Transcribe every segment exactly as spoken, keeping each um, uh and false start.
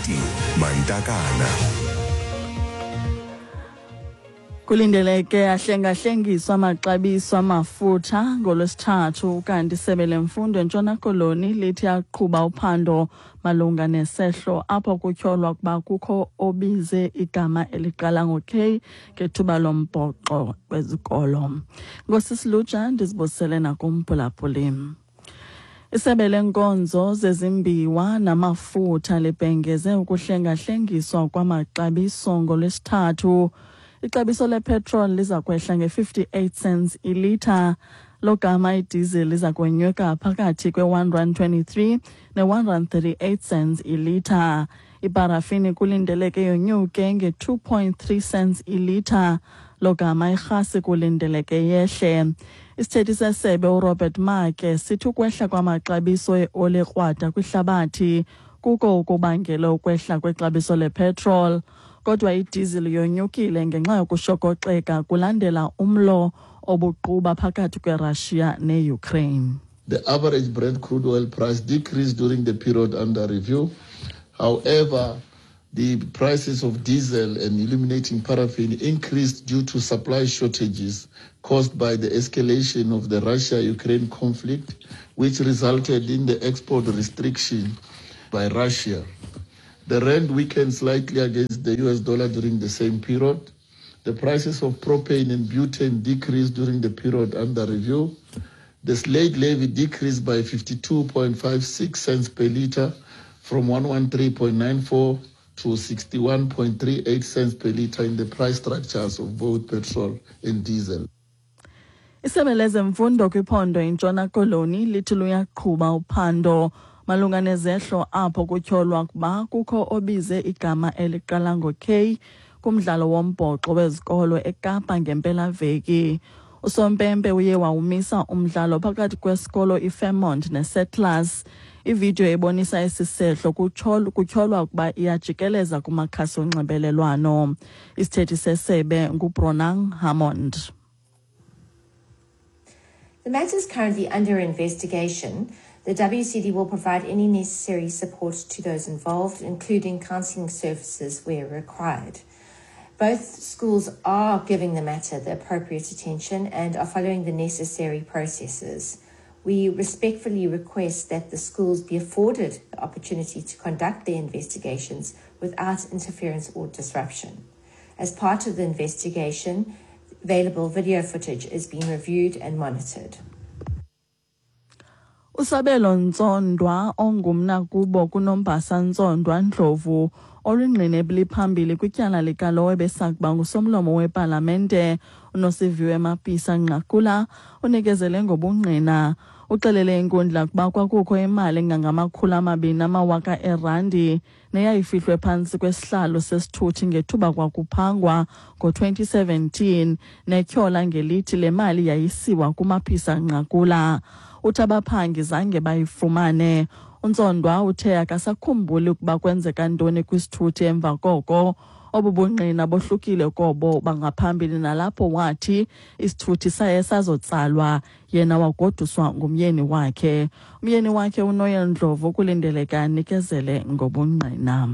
Toti Mantakana. Kulindeleke ahlengahlengiswa amaxabiso amafutha ngolwesithathu, kanti isebe lemfundo eNtshona Koloni lithi aqhuba uphando malunga nesehlo apho kutyholwa ukuba kukho obize igama eliqala ngo-K ngethuba lombhoxo wezikolo. Ngosisilutsha ndizibusele nakumphulaphuli. Isebe lenkonzo zezimbiwa namafutha libhengeze ukuhlengahlengiswa kwamaxabiso ngolwesithathu. Ixabiso lepetrol liza kwehla nge-fifty-eight cents ilitha, logama idiesel liza kwenyuka phakathi kwe-one rand twenty-three ne-one rand thirty-eight cents ilitha. Iparafini kulindeleke yonyuke nge-two point three cents ilitha, logama irhasi kulindeleke yehle. Isithethi sesebe uRobert Maake sithi ukwehla kwamaxabiso eoli ekrwada kwihlabathi kuko ukubangela ukwehla kwexabiso lepetrol. Kodwa idiesel yonyukile ngenxa yokushokoxeka kulandela umlo obuquba phakathi kweRussia neUkraine. The average Brent crude oil price decreased during the period under review. However, the prices of diesel and illuminating paraffin increased due to supply shortages caused by the escalation of the Russia-Ukraine conflict, which resulted in the export restriction by Russia. The rand weakened slightly against the U S dollar during the same period. The prices of propane and butane decreased during the period under review. The slate levy decreased by fifty-two point five six cents per liter from one one three point nine four to sixty-one point three eight cents per liter in the price structures of both petrol and diesel. Isebe lezemfundo kwiphondo iNtshona Koloni lithi luyaqhuba uphando malunga nezehlo apho kutyholwa ukuba kukho obize igama eliqala ngo-K kumdlalo wombhoxo wezikolo eKapa ngempelaveki. Usompempe uye wawumisa umdlalo phakathi kwesikolo iFairmont neSettlers. Ividiyo ebonisa esi sehlo kutyholwa ukuba iyajikeleza kumakhasi onxibelelwano. Isithethi sesebe nguBronagh Hammond. The matter is currently under investigation. The W C D will provide any necessary support to those involved, including counselling services where required. Both schools are giving the matter the appropriate attention and are following the necessary processes. We respectfully request that the schools be afforded the opportunity to conduct their investigations without interference or disruption. As part of the investigation, available video footage is being reviewed and monitored. Usabelo Ntsondwa ongumnakubo kuNombasa Ntsondwa Ndlovu olungqine eliphambili kwityala likalowo ebesakuba ngusomlomo wepalamente uNosiviwe Mapisa Nqakula unikezele ngobungqina. Uxelele inkundla ukuba kwakukho imali engangamakhulu amabini amawaka erandi neyayifihlwe phantsi kwesihlalo sesithuthi ngethuba kwakuphangwa ngo twenty seventeen netyhola ngelithi le mali yayisiwa kuMapisa Nqakula. Uthi abaphangi zange bayifumane. UNtsondwa uthe akasakhumbuli ukuba kwenzeka ntoni kwisithuthi emva koko. Obu bungqina bohlukile kobo bangaphambili nalapho wathi isithuthi saye sazotsalwa yena wagoduswa ngumyeni wakhe. Umyeni wakhe uNoel Ndlovu kulindeleke anikezele ngobungqina.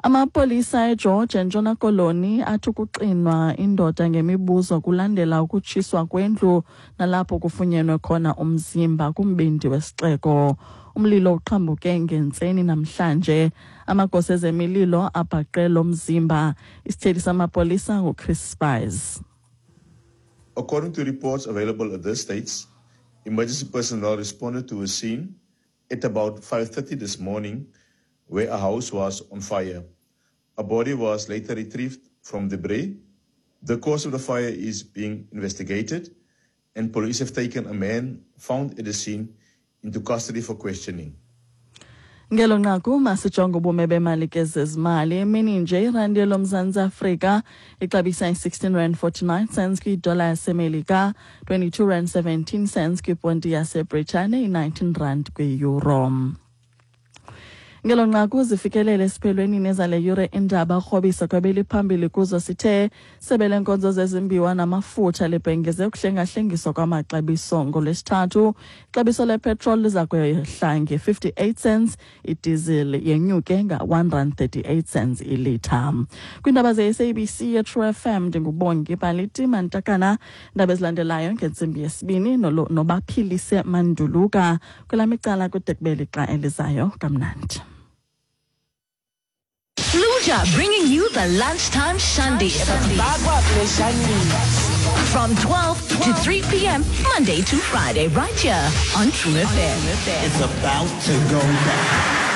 Amapolisa eGeorge eNtshona Koloni athi ukuxinwa indoda ngemibuzo kulandela ukutshiswa kwendlu nalapho kufunyenwe khona umzimba kumbindi wesixeko. Umlilo uqhambuke ngentseni namhlanje. Amagosa ezemililo abhaqe lo mzimba. Isithethi samapolisa nguChris Spies. According to reports available at this stage, emergency personnel responded to a scene at about five thirty this morning where a house was on fire. A body was later retrieved from debris. The cause of the fire is being investigated, and police have taken a man found at the scene into custody for questioning. Ngelo nqaku masijonge ubume bemali ke zezimali. Emini nje irandi loMzantsi Afrika ixabisa i-sixteen rand forty-nine cents kwidola yaseMelika, twenty-two rand seventeen cents kwiponti yaseBritane, i-nineteen rand kwi-euro. Ngelo nqaku zifikelele esiphelweni nezale yure indaba krobisa kwabeliphambili kuzo sithe sebe lenkonzo zezimbiwa namafutha libhengeze ukuhlengahlengiswa kwamaxabiso ngolwesithathu. Ixabiso lepetrol liza kwehla nge-fifty-eight cents, idiesel yenyuke nga-one rand thirty-eight cents ilitha. Kwiindaba ze-S A B C ye-True F M ndinguBongi Baliti Mantakana. Indaba ezilandelayo ngentsimbi yesibini noBaphilise Manduluka kwelam icala kude kube lixa elizayo. Kamnandi. Fluja bringing you the lunchtime shandy. From twelve to three p m Monday to Friday, right here on True F M. It's about to go down.